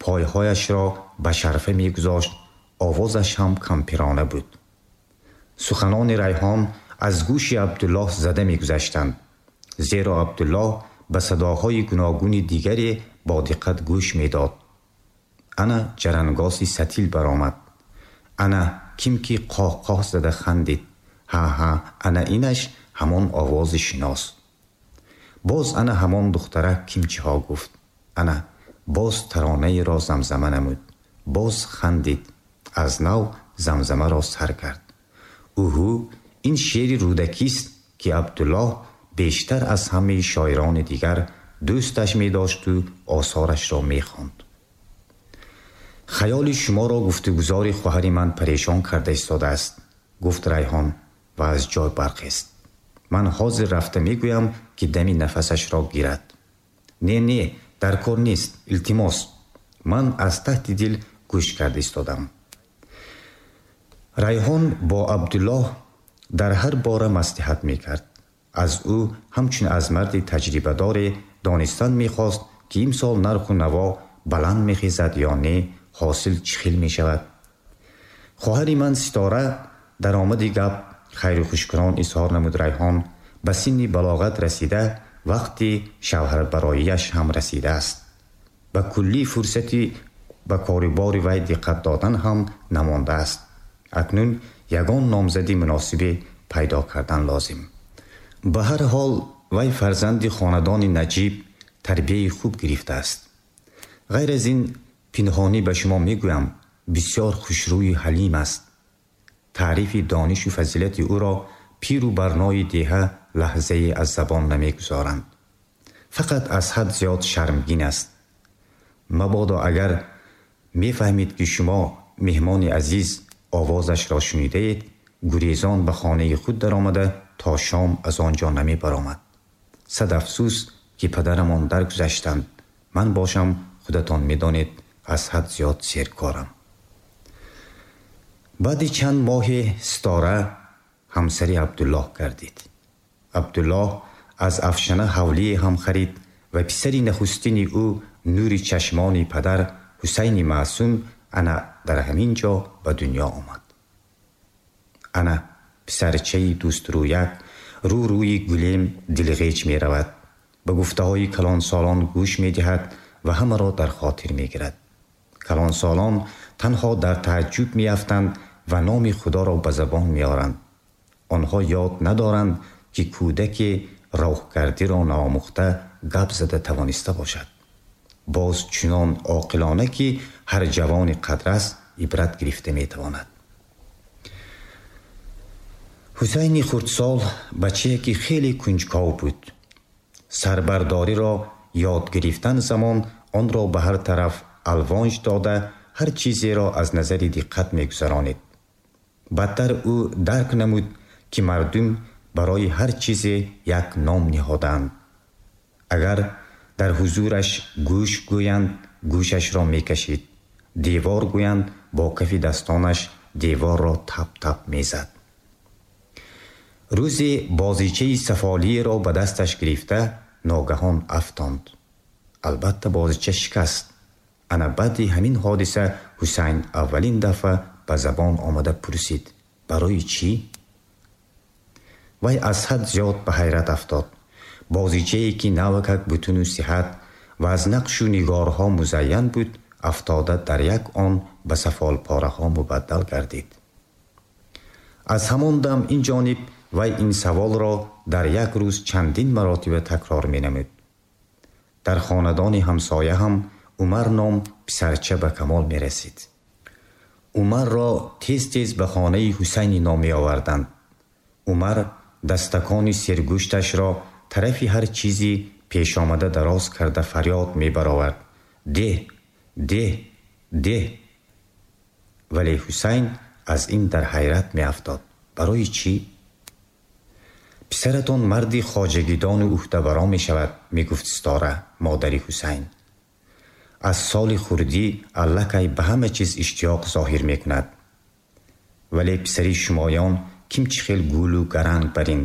пойҳояшро ба шарфа мегузошт, овозаш ҳам кампирона буд. Суханони Райҳон аз гӯши Абдуллоҳ зада мегузаштанд, зеро Абдуллоҳ ба садоҳои гуногуни дигаре бо диққат гӯш медод. Ана ҷарангоси сатил баромад. Ана ким ки қоҳқоҳ зада хандид. Ҳа, ҳа, ана инаш ҳамон овози шинос. Боз ана ҳамон духтарак кимчиҳо гуфт. Ана боз таронаеро замзама намуд. Боз хандид. Аз нав замзамаро сар кард. Уҳу, ин шеъри Рӯдакист, ки Абдуллоҳ бештар аз ҳамаи шоирони дигар дӯсташ медошту осорашро мехонд. Хаёли шуморо гуфтугузори хоҳари ман парешон карда истодааст, гуфт Райҳон ва аз ҷой бархест. Ман ҳозир рафта мегӯям, ки дами нафасашро гирад. Не, не, дар кор нест, илтимос. Ман аз таҳти дил гӯш карда истодам. Райҳон бо Абдуллоҳ дар ҳар бора маслиҳат мекард. Аз ӯ ҳамчун аз марди таҷрибадоре донистан мехост, ки имсол нарху наво баланд мехезад ё не, ҳосил чӣ хел мешавад. Хоҳари ман Ситора дар омади гап хайру хушкунон изҳор намуд Райҳон, ба синни балоғат расида, вақти шавҳарбароияш ҳам расидааст. Ба куллӣ фурсати ба корубори вай диққат додан ҳам намондааст. Акнун ягон номзади муносибе пайдо кардан лозим. Ба ҳар ҳол вай фарзанди хонадони наҷиб тарбияи хуб гирифтааст. Ғайр аз ин пинҳонӣ ба шумо мегӯям, бисёр хушрӯю ҳалим аст. Таърифи донишу фазилати ӯро пиру барнои деҳа лаҳзае аз забон намегузоранд. Фақат аз ҳад зиёд шармгин аст. Мабодо агар мефаҳмид, ки шумо меҳмони азиз овозашро шунидаед, гурезон ба хонаи худ даромада то шом аз он ҷо намебаромад. Сад афсӯс, ки падарамон даргузаштанд. Ман бошам, худатон медонед, аз ҳад зиёд серкорам. Баъди чанд моҳе Ситора ҳамсари Абдуллоҳ гардид. Абдуллоҳ аз Афшана ҳавлие ҳам харид ва писари нахустини ӯ, нури чашмони падар Ҳусайни Маъсум, ана дар ҳамин ҷо ба дунё омад. Ана писарчаи дӯстрӯяк рӯ рӯи гулем дилғеҷ меравад, ба гуфтаҳои калонсолон гӯш медиҳад ва ҳамаро дар хотир мегирад. Калонсолон танҳо дар тааҷҷуб меафтанд ва номи Худоро ба забон меоранд. Онҳо ёд надоранд, ки кӯдаке роҳгардиро наомӯхта гап зада тавониста бошад. Боз чунон оқилона, ки ҳар ҷавони қадрас ибрат гирифта метавонад. Ҳусайни хурдсол бачае, ки хеле кунҷков буд. Сарбардориро ёд гирифтан замон онро ба ҳар тараф алвонҷ дода, ҳар чизеро аз назари диққат мегузаронид. Баъдтар ӯ дарк намуд, ки мардум барои ҳар чизе як ном ниҳодаанд. Агар дар ҳузураш гӯш гӯянд, гӯшашро мекашид. Девор гӯянд, бо кафи дастонаш деворро тап-тап мезад. Рӯзе бозичаи сафолиеро ба дасташ гирифта ногаҳон афтонд. Албатта, бозича шикаст. Ана баъди ҳамин ҳодиса Ҳусайн аввалин дафъа ба забон омада пурсид: барои чӣ? Вай аз ҳад зиёд ба ҳайрат афтод. Бозичае, ки навакак бутуну сиҳат ва аз нақшу нигорҳо музайян буд, афтода дар як он ба сафолпораҳо мубаддал гардид. Аз ҳамон дам ин ҷониб вай ин саволро дар як рӯз чандин маротиба такрор менамуд. Дар хонадони ҳамсоя ҳам Умар ном писарча ба камол мерасид. Умарро тез-тез ба хонаи Ҳусайни ном меоварданд. Умар дастакони сергӯшташро тарафи ҳар чизи пешомада дароз карда фарёд мебаровард: деҳ, деҳ, деҳ! Вале Ҳусайн аз ин дар ҳайрат меафтод. Барои чӣ? Писаратон марди хоҷагидону ӯҳдабаро мешавад, мегуфт Ситора, модари Ҳусайн. Аз соли хурдӣ аллакай ба ҳама чиз иштиёқ зоҳир мекунад. Вале писари шумоён ким чӣ хел гулу гаранг барин,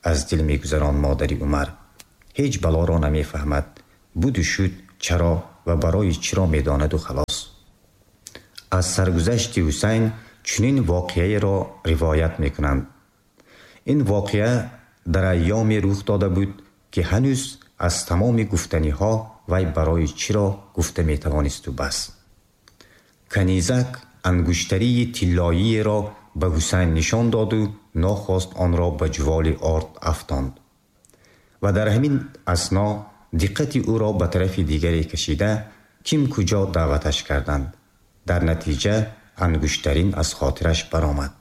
аз дил мегузаронд модари Умар. Ҳеҷ балоро намефаҳмад. Буду шуд, чаро ва барои чиро медонаду халос. Аз саргузашти Ҳусайн чунин воқеаеро ривоят мекунанд. Ин воқеа дар айёме рух дода буд, ки ҳанӯз аз тамоми гуфтаниҳо вай барои чиро гуфта метавонисту бас. Канизак ангуштарии тиллоиеро ба Ҳусайн нишон доду нохост онро ба ҷуволи орд афтонд ва дар ҳамин асно диққати ӯро ба тарафи дигаре кашида, ким куҷо даъваташ карданд. Дар натиҷа ангуштарин аз хотираш баромад.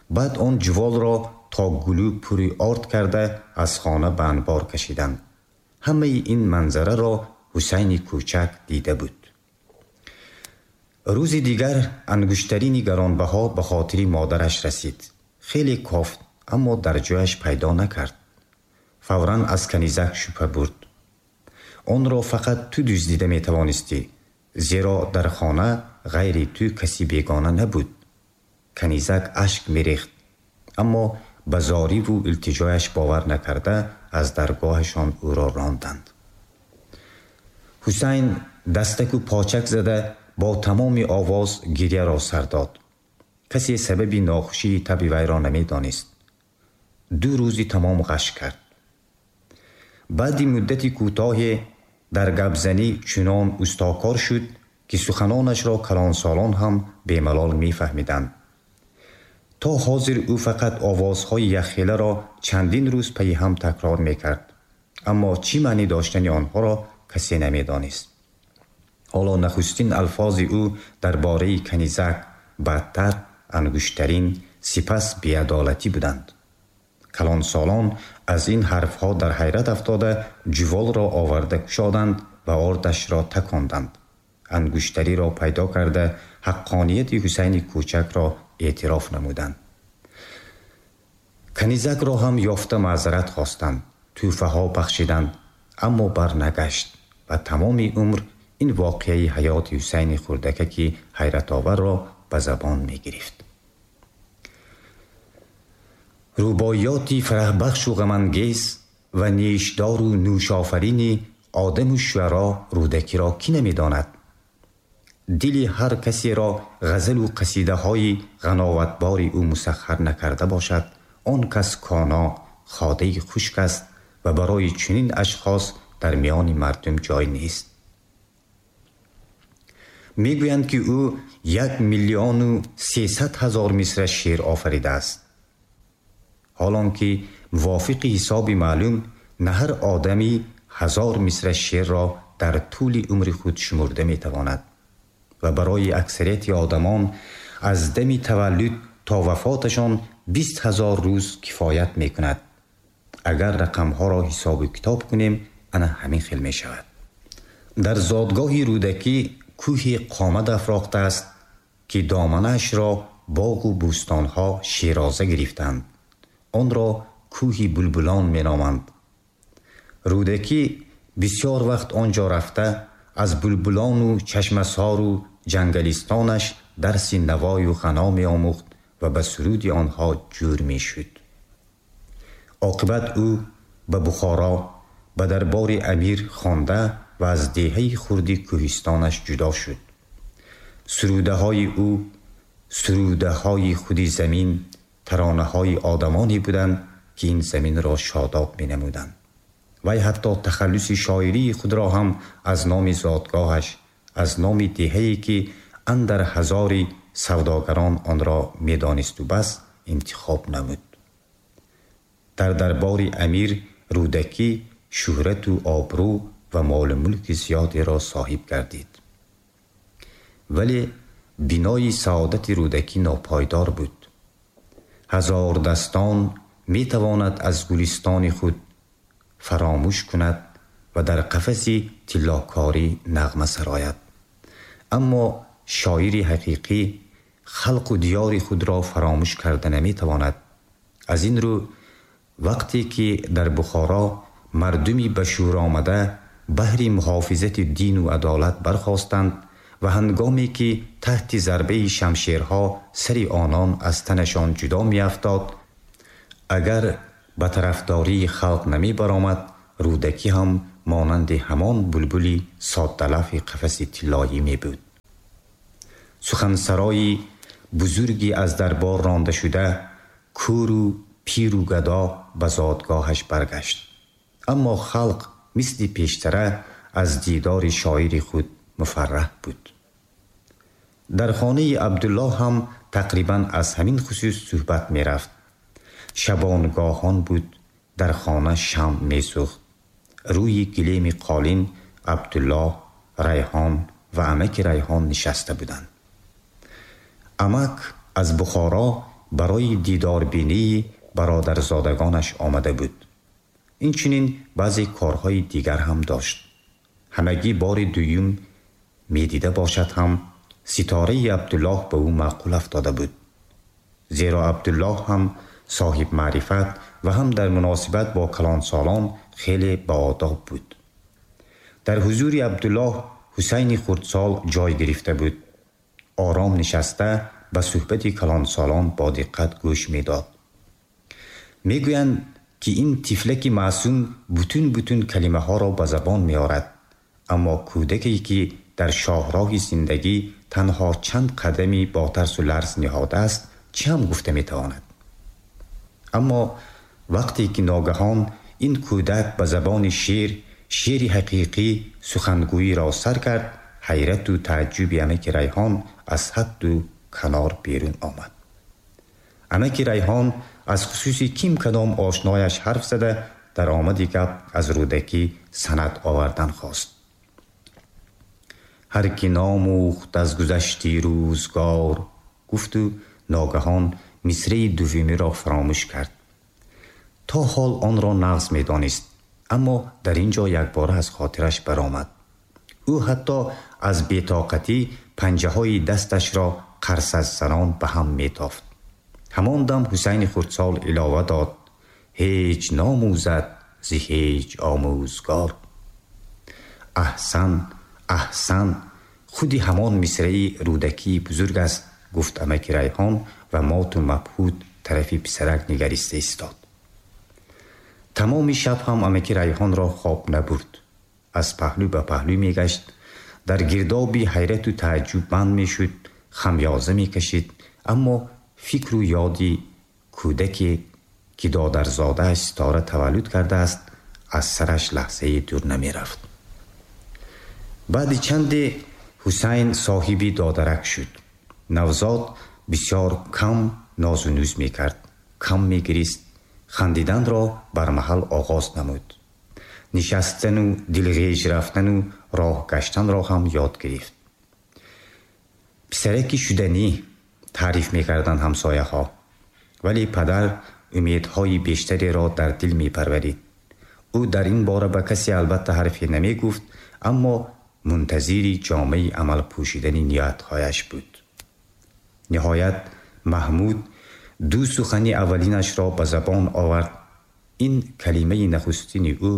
Баъд он ҷуволро то гулӯ пури орд карда аз хона ба анбор кашиданд. Ҳамаи ин манзараро Ҳусайни кӯчак дида буд. Рӯзи дигар ангуштарини гаронбаҳо ба хотири модараш расид. Хеле кофт, аммо дар ҷояш пайдо накард. Фавран аз канизак шубҳа бурд. Онро фақат ту дуздида метавонистӣ, зеро дар хона ғайри ту каси бегона набуд. Канизак ашк мерехт, аммо ба зориву илтиҷояш бовар накарда аз даргоҳашон ӯро ронданд. Ҳусайн дастаку почак зада бо тамоми овоз гирьяро сар дод. Касе сабаби нохушии таби вайро намедонист. 2 рӯзи тамом ғаш кард. Баъди муддати кӯтоҳе дар гапзанӣ чунон устокор шуд, ки суханонашро калонсолон ҳам бемалол мефаҳмиданд. То ҳозир ӯ фақат овозҳои яххеларо чандин рӯз пайи ҳам такрор мекард, аммо чӣ маънӣ доштани онҳоро касе намедонист. Ҳоло нахустин алфози ӯ дар бораи канизак, баъдтар ангуштарин, сипас беадолатӣ буданд. Калонсолон аз ин ҳарфҳо дар ҳайрат афтода ҷуволро оварда кушоданд ва ордашро таконданд. Ангуштариро пайдо карда ҳаққонияти Ҳусайни кӯчакро эътироф намуданд. Канизакро ҳам ёфта маъзарат хостанд, тӯҳфаҳо бахшиданд, аммо барнагашт ва тамоми умр ин воқеаи ҳаёти Ҳусайни хурдакаки ҳайратоварро ба забон мегирифт. Рубоиёти фараҳбахшу ғамангез ва нешдору нӯшофарини одаму шуаро Рӯдакиро кӣ намедонад? Дили ҳар касеро ғазалу қасидаҳои ғановатбори ӯ мусаххар накарда бошад, он кас коно, ходаи хушк аст ва барои чунин ашхос дар миёни мардум ҷой нест. Мегӯянд, ки ӯ 1 300 000 мисра шеър офаридааст. Ҳолон ки мувофиқи ҳисоби маълум на ҳар одамӣ 1000 мисра шеърро дар тӯли умри худ шумурда метавонад ва барои аксарияти одамон аз дами таваллуд то вафоташон 20 000 рӯз кифоят мекунад. Агар рақамҳоро ҳисобу китоб кунем, ана ҳамин хел мешавад. Дар зодгоҳи Рӯдакӣ кӯҳи қомат афрохтааст, ки доманаашро боғу бӯстонҳо широза гирифтанд. Онро кӯҳи булбулон меноманд. Рӯдакӣ бисёр вақт он ҷо рафта, аз булбулону чашмасору ҷангалистонаш дарси навою ғано меомӯхт ва ба суруди онҳо ҷӯр мешуд. Оқибат ӯ ба Бухоро, ба дарбори амир хонда ва аз деҳаи хурди кӯҳистонаш ҷудо шуд. Сурудаҳои ӯ сурудаҳои худи замин, таронаҳои одамоне буданд, ки ин заминро шодоб менамуданд. Вай ҳатто тахаллуси шоирии худро ҳам аз номи зодгоҳаш, аз номи деҳае, ки андар ҳазори савдогарон онро медонисту бас, интихоб намуд. Дар дарбори амир Рӯдакӣ шӯҳрату обрӯ ва молу мулки зиёдеро соҳиб гардид. Вале бинои саодати Рӯдакӣ нопойдор буд. Ҳазордастон метавонад аз гулистони худ фаромӯш кунад ва дар қафаси тиллокорӣ нағма сарояд, аммо шоири ҳақиқӣ халқу диёри худро фаромӯш карда наметавонад. Аз ин рӯ вақте ки дар Бухоро мардуми ба шӯр омада баҳри муҳофизати дину адолат бархостанд ва ҳангоме ки таҳти зарбаи шамшерҳо сари онон аз танашон ҷудо меафтод, агар ба тарафдории халқ намебаромад, Рӯдакӣ ҳам монанди ҳамон булбули соддалавҳи қафаси тиллоӣ мебуд. Сухансарои бузурги аз дарбор ронда шуда, кӯру пиру гадо ба зодгоҳаш баргашт. Аммо халқ мисли пештара аз дидори шоири худ муфарраҳ буд. Дар хонаи Абдуллоҳ ҳам тақрибан аз ҳамин хусус суҳбат мерафт. Шабонгоҳон буд, дар хона шамъ месӯхт. Рӯи гилеми қолин Абдуллоҳ, Райҳон ва амаки Райҳон нишаста буданд. Амак аз Бухоро барои дидорбинии бародарзодагонаш омада буд. Инчунин баъзе корҳои дигар ҳам дошт. Ҳамагӣ бори дуюм медида бошад ҳам, ситораи Абдуллоҳ ба ӯ маъқул афтода буд. Зеро Абдуллоҳ ҳам соҳибмаърифат ва ҳам дар муносибат бо калонсолон хеле баодоб буд. Дар ҳузури Абдуллоҳ Ҳусайни хурдсол ҷой гирифта буд. Ором нишаста ба суҳбати калонсолон бо диққат гӯш медод. Мегӯянд, ки ин тифлаки маъсум бутун бутун калимаҳоро ба забон меорад, аммо кӯдаке, ки дар шоҳроҳи зиндагӣ танҳо чанд қадами бо тарсу ларз ниҳодааст, чӣ ҳам гуфта метавонад? Аммо вақте ки ногаҳон ин кӯдак ба забони шеър, шеъри ҳақиқӣ сухангӯиро сар кард, ҳайрату тааҷҷуби амаки Райҳон аз ҳадду канор берун омад. Амаки Райҳон аз хусуси ким кадом ошнояш ҳарф зада, дар омади гап аз Рӯдакӣ санад овардан хост. Ҳар ки номӯхт аз гузашти рӯзгор, гуфту ногаҳон мисраи дуввумиро фаромӯш кард. То ҳол онро нағз медонист, аммо дар ин ҷо якбора аз хотираш баромад. Ӯ ҳатто аз бетоқатӣ панҷаҳои дасташро қарсаззанон ба ҳам метофт. Ҳамон дам Ҳусайни хурдсол илова дод: ҳеҷ номӯзад зи ҳеҷ омӯзгор. Аҳсан, аҳсан, худи ҳамон мисраи Рӯдакии бузург аст, гуфт амаки Райҳон ва моту мабҳут тарафи писарак нигариста истод. Тамоми шаб ҳам амаки Райҳонро хоб набурд. Аз паҳлӯ ба паҳлӯ мегашт, дар гирдоби ҳайрату тааҷҷуб банд мешуд, хамёза мекашид, аммо фикру ёди кӯдаке, ки додарзодааш Ситора таваллуд кардааст, аз сараш лаҳзае дур намерафт. Баъди чанде Ҳусайн соҳиби додарак шуд. Навзод бисёр кам нозу нӯз мекард, кам мегирист, хандиданро бармаҳал оғоз намуд. Нишастану дилғеж рафтану роҳ гаштанро ҳам ёд гирифт. Писараки шуданӣ таъриф мекарданд ҳамсояҳо, вале падар умедҳои бештареро дар дил мепарварид. Ӯ дар ин бора ба касе албатта ҳарфе намегуфт, аммо мунтазири ҷомаи амал пӯшидани ниятҳояш буд. Ниҳоят Маҳмуд ду сухани аввалинашро ба забон овард. Ин калимаи нахустини ӯ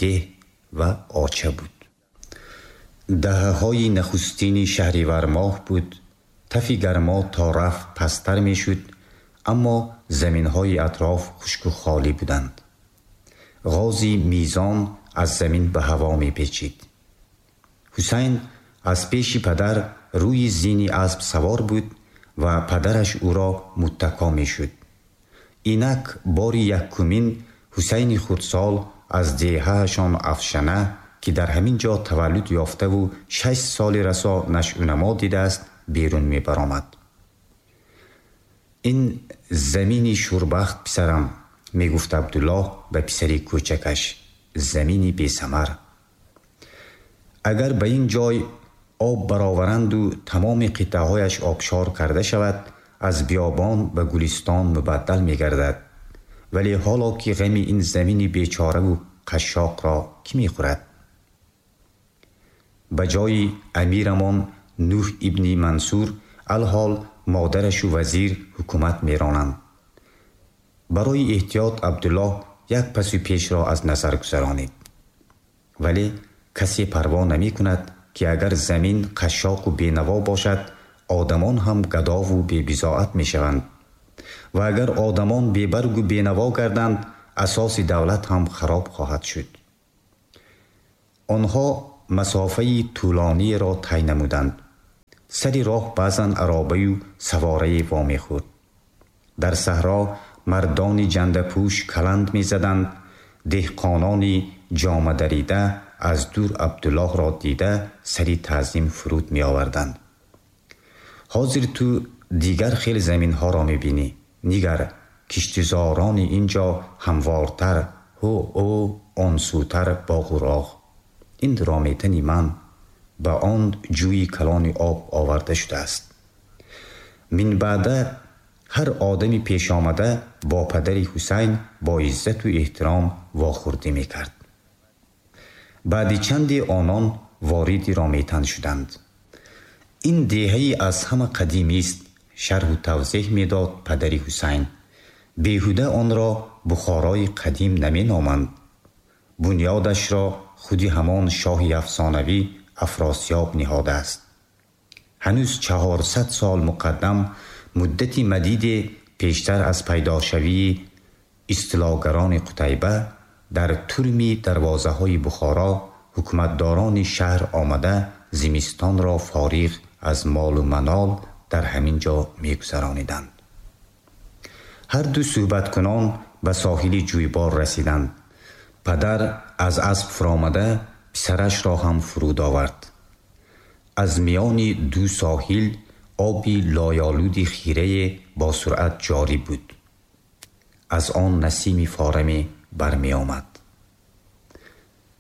деҳ ва оча буд. Даҳаҳои нахустини шаҳривармоҳ буд. Тафи гармо то рафт пасттар мешуд, аммо заминҳои атроф хушку холӣ буданд. Ғози мизон аз замин ба ҳаво мепечид. Ҳусайн аз пеши падар рӯи зини асп савор буд ва падараш ӯро муттако мешуд. Инак бори якумин Ҳусайни хурдсол аз деҳаашон Афшана, ки дар ҳамин ҷо таваллуд ёфтаву 6 соли расо нашъунамо дидааст, берун мебаромад. Ин замини шурбахт, писарам, мегуфт Абдуллоҳ ба писари кӯчакаш, замини бесамар. Агар ба ин ҷой об бароваранду тамоми қитъаҳояш обшор карда шавад, аз биёбон ба гулистон мубаддал мегардад. Вале ҳоло ки ғами ин замини бечораву қашшоқро кӣ мехӯрад? Ба ҷои амирамон Нӯҳ ибни Мансур алҳол модарашу вазир ҳукумат меронанд. Барои эҳтиёт Абдуллоҳ як пасу пешро аз назар гузаронид. Вале касе парво намекунад, ки агар замин қашшоқу бенаво бошад, одамон ҳам гадову бебизоат мешаванд. Ва агар одамон бебаргу бенаво гарданд, асоси давлат ҳам хароб хоҳад шуд. Онҳо масофаи тӯлониеро тай намуданд. Сари роҳ баъзан аробаю саворае вомехӯрд. Дар саҳро мардони ҷандапӯш каланд мезаданд. Деҳқонони ҷомадарида аз дур Абдуллоҳро дида, сари таъзим фуруд меоварданд. Ҳозир ту дигар хел заминҳоро мебинӣ. Нигар, киштизорони ин ҷо ҳамвортар, ҳу ӯ он сӯтар боғу роғ. Ин Рометани ман ба он ҷӯи калони об оварда шудааст. Минбаъда ҳар одами пешомада бо падари Ҳусайн бо иззату эҳтиром вохӯрдӣ мекард. Баъди чанде онон вориди Рометан шуданд. Ин деҳаи аз ҳама қадимист, шарҳу тавзеҳ медод падари Ҳусайн. Беҳуда онро Бухорои қадим наменоманд. Бунёдашро худи ҳамон шоҳи афсонавӣ Афросиёб ниҳодааст. Ҳанӯз 400 сол муқаддам, муддати мадиде пештар аз пайдошавии истилогарони Қутайба, дар турми дарвозаҳои Бухоро ҳукуматдорони шаҳр омада, зимистонро фориғ аз молу манол дар ҳамин ҷо мегузарониданд. Ҳар ду суҳбаткунон ба соҳили ҷӯйбор расиданд. Падар аз асп фуромада, писарашро ҳам фуруд овард. Аз миёни ду соҳил оби лойолуди хирае бо суръат ҷорӣ буд. Аз он насими фораме бармеомад.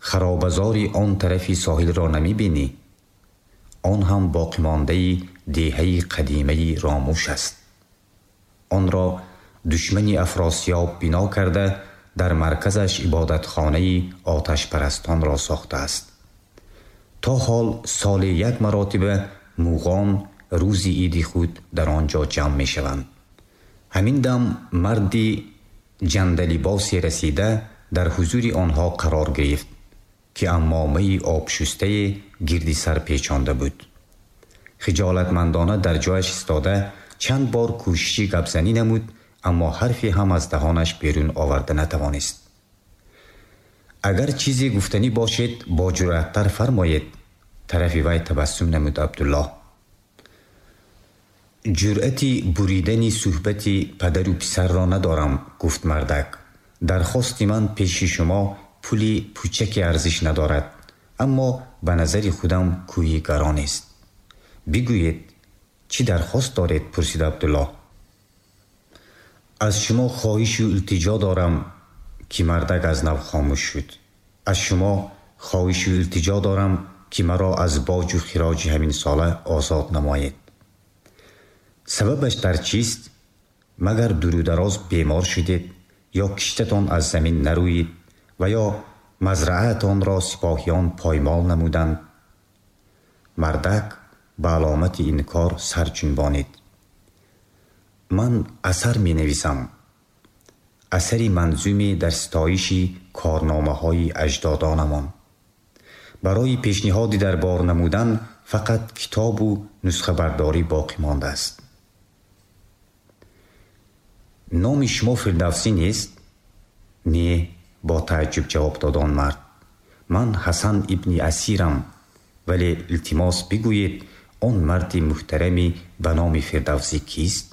Харобазори он тарафи соҳилро намебинӣ? Он ҳам боқимондаи деҳаи қадимаи Ромуш аст. Онро душмани Афросиёб бино карда, дар марказаш ибодатхонаи оташпарастонро сохтааст. То ҳол соле як маротиба муғон рӯзи иди худ дар он ҷо ҷамъ мешаванд. Ҳамин дам марди ҷандалибосе расида, дар ҳузури онҳо қарор гирифт, ки аммомаи обшустае гирди сар печонда буд. Хиҷолатмандона дар ҷояш истода, чанд бор кӯшиши гапзанӣ намуд, аммо ҳарфе ҳам аз даҳонаш берун оварда натавонист. Агар чизе гуфтанӣ бошед, бо ҷуръаттар фармоед, тарафи вай табассум намуд Абдуллоҳ. Ҷуръати буридани суҳбати падару писарро надорам, гуфт мардак. Дархости ман пеши шумо пули пучаке арзиш надорад, аммо ба назари худам кӯҳи гаронест. Бигӯед, чӣ дархост доред? Пурсид Абдуллоҳ. Аз шумо хоҳишу илтиҷо дорам, ки мардак аз нав хомӯш шуд. Аз шумо хоҳишу илтиҷо дорам, ки маро аз боҷу хироҷи ҳаминсола озод намоед. Сабабаш дар чист? Магар дурудароз бемор шудед ё киштатон аз замин нарӯид ва ё мазраатонро сипоҳиён поймол намуданд? Мардак ба аломати инкор сар ҷунбонид. Ман асар менависам, асари манзуме дар ситоиши корномаҳои аҷдодонамон. Барои пешниҳоди дарбор намудан фақат китобу нусхабардорӣ боқӣ мондааст. Номи шумо Фирдавсӣ нест? Не, бо тааҷҷуб ҷавоб дод он мард. Ман Ҳасан ибни Асирам, вале илтимос, бигӯед, он марди муҳтарами ба номи Фирдавсӣ кист?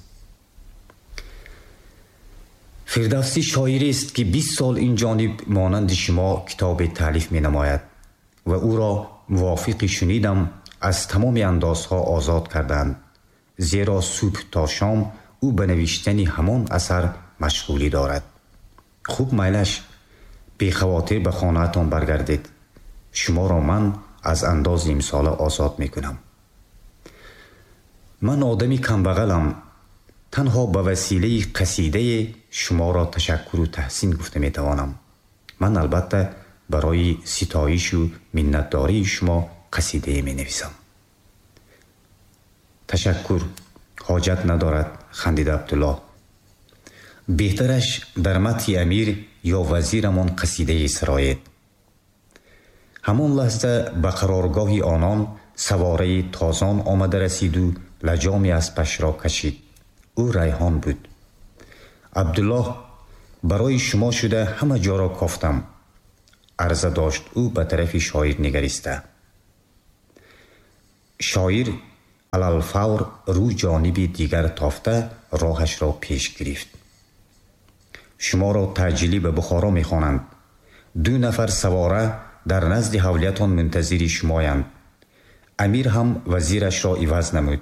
Фирдавсӣ шоирест, ки 20 сол ин ҷониб монанди шумо китобе таълиф менамояд ва ӯро, мувофиқи шунидам, аз тамоми андозҳо озод карданд, зеро субҳ то шом ӯ ба навиштани ҳамон асар машғулӣ дорад. Хуб, майлаш, бехавотир ба хонаатон баргардед. Шуморо ман аз андози имсола озод мекунам. Ман одами камбағалам. Танҳо ба василаи қасидае шуморо ташаккуру таҳсин гуфта метавонам. Ман албатта барои ситоишу миннатдории шумо қасидае менависам. Ташаккур ҳоҷат надорад, хандид Абдуллоҳ. Беҳтараш дар мадҳи амир ё вазирамон қасидае сароед. Ҳамон лаҳза ба қароргоҳи онон савораи тозон омада расиду лаҷоми аспашро кашид. Ӯ Райҳон буд. Абдуллоҳ, барои шумо шуда ҳама ҷоро кофтам, арза дошт ӯ ба тарафи шоир нигариста. Шоир Алалфавр рӯ ҷониби дигар тофта роҳашро пеш гирифт. Шуморо таъҷилӣ ба Бухоро мехонанд. Ду нафар савора дар назди ҳавлиятон мунтазири шумоянд. Амир ҳам вазирашро иваз намуд.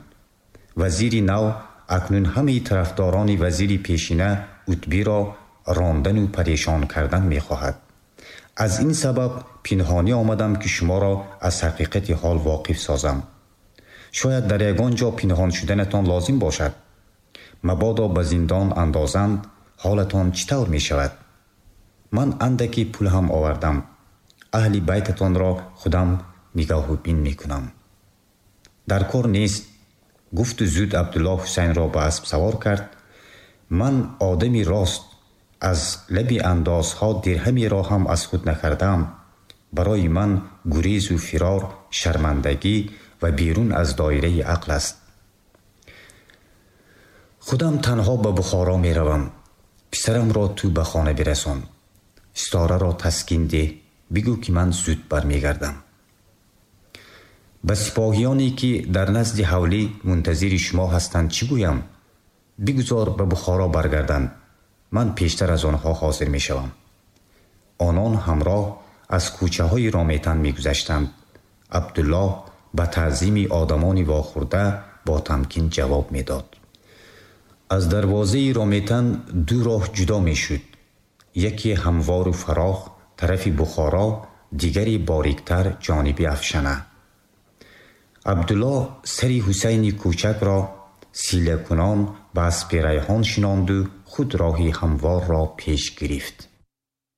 Вазири нав акнун ҳамаи тарафдорони вазири пешина Утбиро рондану парешон кардан мехоҳад. Аз ин сабаб пинҳонӣ омадам, ки шуморо аз ҳақиқати ҳол воқиф созам. Шояд дар ягон ҷо пинҳон шуданатон лозим бошад. Мабодо ба зиндон андозанд, ҳолатон чӣ тавр мешавад? Ман андаке пул ҳам овардам. Аҳли байтатонро худам нигоҳу бин мекунам. Дар кор нест, гуфту зуд Абдуллоҳ Ҳусайнро ба асп савор кард. Ман одами рост, аз лаби андозҳо дирҳамеро ҳам аз худ накардаам. Барои ман гурезу фирор шармандагӣ ва берун аз доираи ақл аст. Худам танҳо ба Бухоро меравам. Писарамро ту ба хона бирасон. Ситораро таскин деҳ, бигӯ, ки ман зуд бармегардам. Ба сипоҳиёне, ки дар назди ҳавлӣ мунтазири шумо ҳастанд, чӣ гӯям? Бигузор ба Бухоро баргарданд. Ман пештар аз онҳо ҳозир мешавам. Онон ҳамроҳ аз кӯчаҳои Рометан мегузаштанд. Абдуллоҳ ба таъзими одамони вохӯрда бо тамкин ҷавоб медод. Аз дарвозаи Рометан ду роҳ ҷудо мешуд. Яке ҳамвору фарох тарафи Бухоро, дигаре бориктар ҷониби Афшана. Абдуллоҳ сари Ҳусайни кӯчакро силакунон ба аспи Райҳон шинонду худ роҳи ҳамворро пеш гирифт.